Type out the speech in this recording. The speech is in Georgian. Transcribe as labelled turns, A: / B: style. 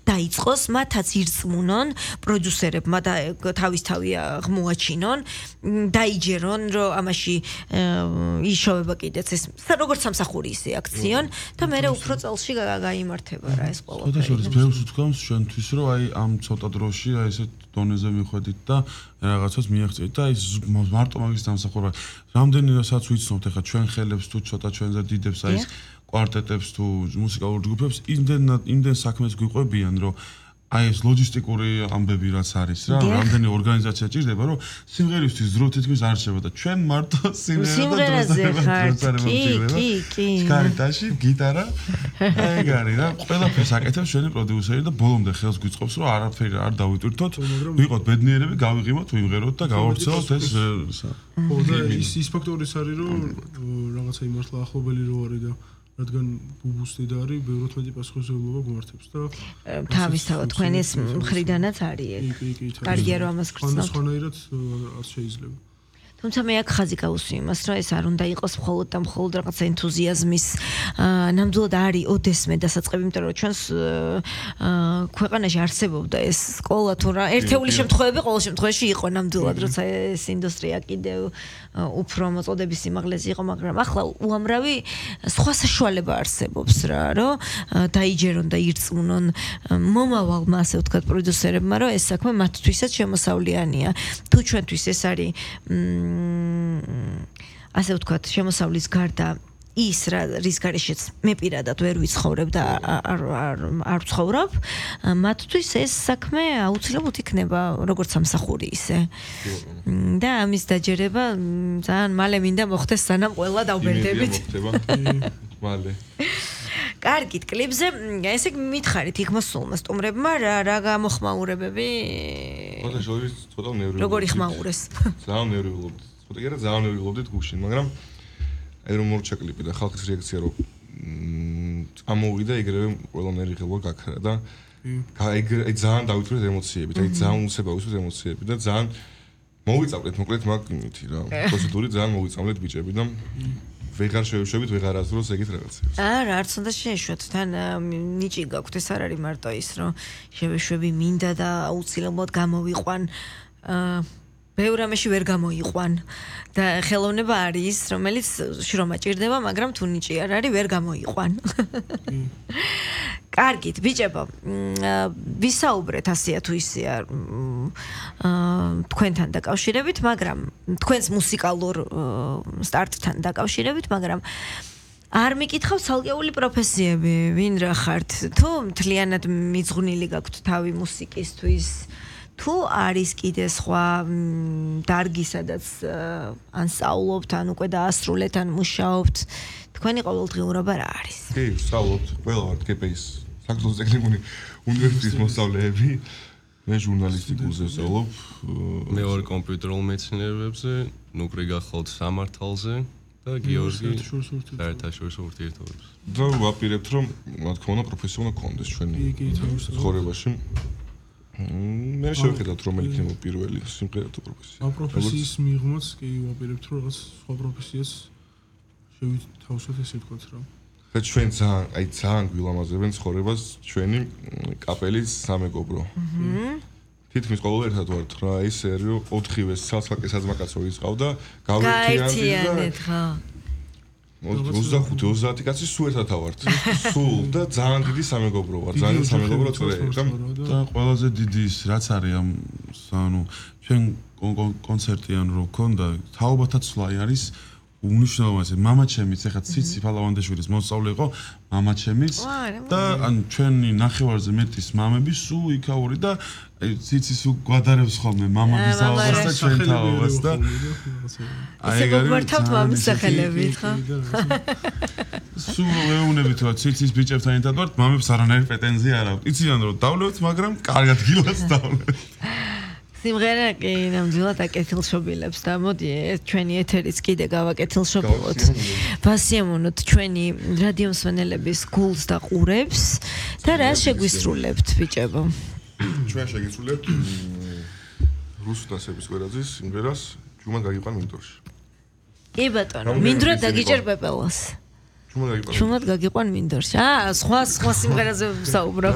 A: დაიწყოს, მათაც ირწმუნონ პროდიუსერებმა და თავისთავი აღმოაჩინონ, დაიჯერონ, რომ ამაში იშოვება კიდეც ეს როგორც სამსახური ისე აქციონ და მე უფრო წელში გაიმართება რა ეს ყველაფერი.
B: ხოდაშორის ბევრს ვთქვამს ჩვენთვის, რომ აი ამ ცოტა დროში აი ესეთ დონეზე მიხვედით და რაღაცას მიაღწევით და ის მარტო მაგის დამსახურება. რამდენადაც ვიცნობთ ახლა ჩვენ ხელებს თუ ცოტა ჩვენზე დიდებს აი ეს კვარტეტებს თუ მუსიკალურ ჯგუფებს იმდენ საქმეს გვიყვებიან, რომ აი ეს ლოჯისტიკური ამბები რაც არის რა, რამდენი ორგანიზაცია ჭირდება, რომ სიმღერისთვის დრო თითქმის არ რჩება და ჩვენ მარტო
A: სიმღერაზე ხართ. კი.
B: გარიტაში გიტარა ეგ არის რა, ყველაფერს აკეთებს ჩვენი პროდიუსერი და ბოლომდე ხელს გვიწყობს, რომ არაფერი არ დავიტვირთოთ, ვიყოთ ბედნიერები, გავიღიმოთ, ვიმღეროთ და გავავრცელოთ ეს.
C: ხო და ის ფაქტორიც არის, რომ რაღაცა იმართლა ახლობელი რო არის და რადგან ბუბუს დედა არის, ბევრად მეტი პასუხისმგებლობა გვმართებს და
A: თავისთავად თქვენის მხრიდანაც არის ეგ. კარგია რომ ამას გრძნობთ.
C: სხვანაირად არ შეიძლება.
A: თუმცა მე აქ ხაზი გავუსვი იმას, რომ ეს არ უნდა იყოს მხოლოდ და მხოლოდ რაღაცა ენთუზიაზმის ნამდვილად არის ოდესმე დასაწყები, იმიტომ რომ ჩვენს ქვეყანაში არსებობდა ეს სკოლა თუ რა ერთეული შემთხვევები ყოველ შემთხვევაში იყო ნამდვილად, როცა ეს ინდუსტრია კიდევ უფრო მოწოდების სიმაღლეზე იყო, მაგრამ ახლა უამრავი სხვა საშუალება არსებობს რა, რომ დაიჯერონ და ირწმუნონ მომავალმა, ასე ვთქვათ, პროდიუსერებმა, რომ ეს საქმე მათთვისაც შემოსავლიანია. თუ ჩვენთვის ეს არის ასე ვთქვათ, შემოსავლის გარდა ის რის გარეშეც მე პირადად ვერ ვიცხოვრებ და არ ვცხოვრობ, მათთვის ეს საქმე აუცილებლად იქნება როგორც სამსახური ისე. და ამის დაჯერება ძალიან მალე მინდა მოხდეს, სანამ ყველა დავბერდებით.
D: მალე.
A: კარგით, კლიპზე ესე მითხარით იქ მოსულმა სტუმრებმა რა გამოხმაურებები?
D: ხოდაშორის ცოტა ნერვიულობდით.
A: როგორი ხმაურეს?
D: ძალიან ნერვიულობდით. ცოტა კი არა, ძალიან ნერვიულობდით გუშინ, მაგრამ აი რომ მორჩა კლიპი და ხალხის რეაქცია რომ წამოვიდა ეგრევე ყველა ნერვიულობა გაქრა და აი ძალიან დავიტვირეთ ემოციებით, აი ძალიან უცებ ავისვით ემოციები და ძალიან მოვიწავლეთ მოკლედ მაგ იმითი რა. პროცედური ძალიან მოვიწავლეთ ბიჭები და ვეღარ შევშვებით, ვეღარ აზროს ეგეთ რაღაცებს.
A: არა, არც უნდა შეეშვათ. თან ნიჭი გაქვთ, ეს არ არის მარტო ის, რომ შევეშვები მინდა და აუცილებლად გამოვიყვან. ბევრ რამეში ვერ გამოიყვან და ხელოვნება არის ის, რომელიც შრომა ჭირდება, მაგრამ თუ ნიჭი არ არის, ვერ გამოიყვან. კარგით, ბიჭებო, ვისაუბრეთ ასეა თუ ისეა თქვენთან დაკავშირებით, მაგრამ თქვენს მუსიკალურ სტარტთან დაკავშირებით, მაგრამ არ მიკითხავთ ცალკეული პროფესიები, ვინ რა ხართ? თუ მთლიანად მიძღვნილი გაქვთ თავი მუსიკისთვის, თუ არის კიდე სხვა დარგი, სადაც ან სწავლობთ, ან უკვე დაასრულეთ, ან მუშაობთ, თქვენი ყოველდღიურობა რა არის?
D: კი, სწავლობთ, ყველა ვართ GPI-ის საქართველოს ტექნიკური უნივერსიტეტის მოსწავლეები. მე ჟურნალისტიკურზე ვსწავლობ,
E: მე ვარ კომპიუტერულ მეცნიერებებზე, ნუკრი გახვალთ სამართალზე და გიორგი საერთაშორისო ურთიერთობებს.
D: და ვაპირებთ, რომ რა თქმა უნდა პროფესია უნდა გქონდეს ჩვენი ცხოვრებაში. მე შევხედავთ რომ იქნება პირველი სიმღერა თუ პროფესია.
C: ამ პროფესიის მიღმაც კი ვაპირებთ რომ რაღაც სხვა პროფესიას შევითავსოთ ესე ვთქვათ რა.
D: და ჩვენ ძალიან გვილამაზებენ ცხოვრებას ჩვენი კაპელის სამეგობრო. თითქმის ყოველ ერთად ვართ რა ისე რომ 4-ვე ცალ-ცალკე საძმაკაცო ისყავდა
A: გავერთიანეთ ხო
D: 25-30 კაცი სულ ერთად ავართ. სულ და ძალიან დიდი სამეგობრო ვარ, ძალიან სამეგობრო წრე
B: და ყველაზე დიდი ის რაც არის ამ ანუ ჩვენ კონცერტიან რო ქონდა თაობათა ცვლაი არის უნიშნავესი მამაჩემიც ეხლა ციცი ფალავანდაშვილის მოსწავლე იყო მამაჩემიც და ან ჩვენი ნახევარზე მეტის მამები სულ იქაური და ციცი სულ გვადარებს ხოლმე მამების თაობას და ჩვენ თაობას და
A: აი ეგ არის გვართავთ მამის სახელებით ხო
B: სულ ეუნებით რომ ციცის ბიჭებთან ერთად ვართ მამებს არანაირი პრეტენზია არ აქვს იციან რომ დავლევთ მაგრამ კარგად გილას დავლევთ
A: სიმღერა კი ნამდვილად აკეთილშობილებს და მოდი ჩვენი ეთერიც კიდე გავაკეთილშობილოთ. ვასიამოვნოთ ჩვენი რადიო მსმენელების გულს და ყურებს და რა შეგვისრულებთ ბიჭებო?
D: ჩვენ შეგისრულებთ რუსულ დასების კვერაძის სიმღერას ჯუმად გაგიყვან მინდორში.
A: კი ბატონო, მინდრა დაგიჭერ პეპელას. ჯუმად გაგიყვან მინდორში. სხვა სიმღერაზე ვსაუბრობ.